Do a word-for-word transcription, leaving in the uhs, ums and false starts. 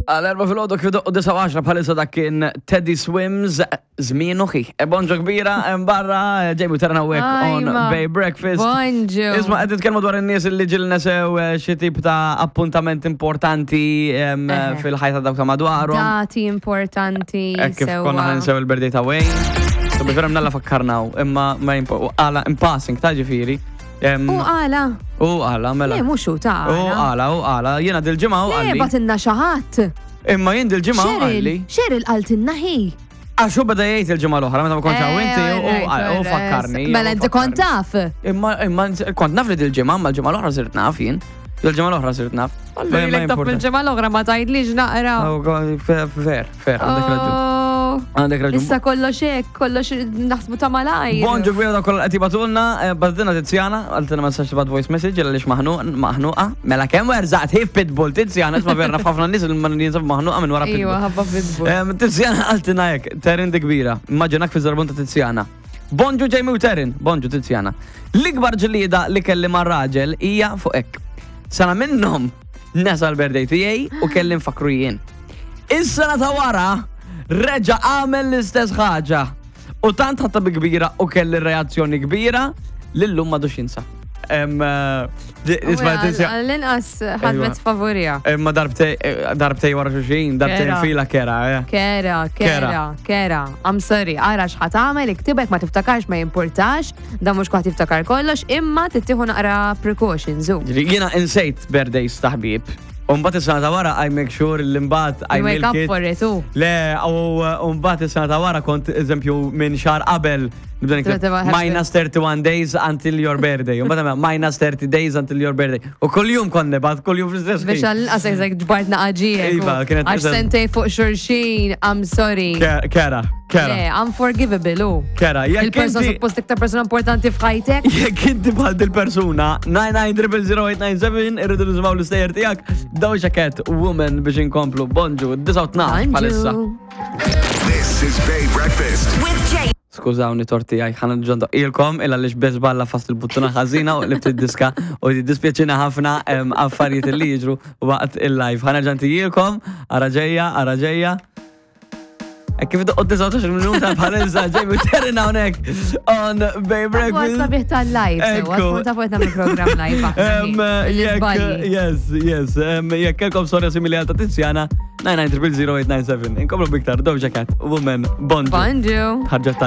Għal erba filgħodu kif doqqu disa għaxra bħalissa, dak kien Teddy Swims, Żmien Uħi. E bonġu kbira hemm barra, Jamie Terna hawnhekk on Ajma. Bay Breakfast. Bonġu. Isma', qed nitkellmu dwar in-nies li ġieli nesew eh, xi tip ta' appuntament importanti em, Eħe. fil-ħajta dawk ta' madwarhom. Dati importanti. Hekk kif sewwa. konna ħa ninsew il-birthday ta' Wayne. So bifirem nalla fakkarnaw, imma ma jimpo, u għala in passing ta' ġifieri. Em, U għala. U għala, mela. Le, mhux hu ta' U għala. għala, u għala, jiena dil-ġimgħa u Le, għalli. bagħtilna xi ħadd. Imma jien dil-ġimgħa u Cheryl, għalli. Cheryl qaltilna hi. Għax hu beda jgħid il-ġimgħa l-oħra meta ma kontx hawn inti Eh, u- u u fakkarni. Mela u inti kont fakkarni. taf. Imma imma kont naf li dil-ġimgħa, imma l-ġimgħa l-oħra sirt naf jien. Il-ġimgħa l-oħra sirt naf. Allura lek taf il-ġimgħa l-oħra ma tgħidlix naqra. Fair, fair, għandek raġun. Oh. Għandek raġun. Issa kollox hekk, kollox naħsbu ta' malajr. Bonġu kbira da kollha qed jibagħtulna, eh, bagħtilna Tiziana, qaltilna ma tistax tibgħat voice message għaliex maħnuq maħnuqa. Mela kemm werżaqt hi pitbull Tiziana, isma' vera naf ħafna nies li ma jinsab maħnuqa minn wara Iwa, pitbull. ħabba pitbull. Em, Tiziana qaltilna hekk, Terin di kbira, immaġinak fi żarbun ta' Tiziana. Bonġu Jamie u Terin, bonġu Tiziana. L-ikbar ġlieda li kelli ma' raġel hija fuq hekk. Sena minnhom nesa l-birthday tiegħi u kelli nfakru jien. Is-sena ta' wara reġa' għamel l-istess ħaġa. U tant ħatta bi kbira u kelli reazzjoni kbira li llum m'għadux jinsa. Em, eh, di- isma' Tizia- L-inqas ħadmet favorija. Imma darbtej eh, darbtej wara xulxin, darbtejn Kera. fila kera, eh. Kera, kera, kera. I'm sorry, ara x'ħa tagħmel, iktibek, ma tiftakarx ma jimpurtax, da mhux kwaħt tiftakar kollox, imma tittieħu naqra precautions. u. Ġifieri, jiena insejt birthdays ta' ħbieb. U mbagħad is-sena ta' wara I make sure li mbagħad I You wake milk up it. for it, u. Le, u u mbagħad is-sena ta' wara kont eżempju minn xahar qabel nibda nikteb Tibda minus thirty-one days until your birthday. U mbagħad minus thirty days until your birthday. U kuljum kont nibgħat, kuljum fl-istess Biex ħin. għall-inqas eżek ġbart naqaġijek. Iva, kienet Għax eżatt. sentej fuq xulxin, I'm sorry. Ke- Kera, kera, Le, unforgivable, u. kera. Jekk Il-persona inti suppost iktar persona importanti f'ħajtek. Jekk inti bħal dil-persuna, nine nine zero zero eight nine seven, irridu nisimgħu l-istejjer tiegħek, Doja Cat, Woman, biex inkomplu. Bonġu, disgħa u tnax bħalissa. This is Bay Breakfast. With Jay. Skużawni torti għaj, ħana ġonda ilkom, illa li xbez balla fast il-buttuna ħażina u li diska u dispjaċina ħafna em, affarijiet li jiġru waqt il-live. Ħana ġanti ilkom, ara ġejja, ara ġejja. E kif doqqot disatax minuta bħalissa, Jamie Terrin hawnhekk on Bay Għas Breakfast. sabiħ tal-live, sewa, Ekku. tkun ta' fuq nagħmlu program live. aħna, Um, jekk, l-iżbalji. yes, yes, um, jekk kelkom storja simili għal ta' Tiziana, nine nine zero zero eight nine seven. Inkomplu biktar, Doja Cat, Woman, bonġu. Bonġu. Ħarġa.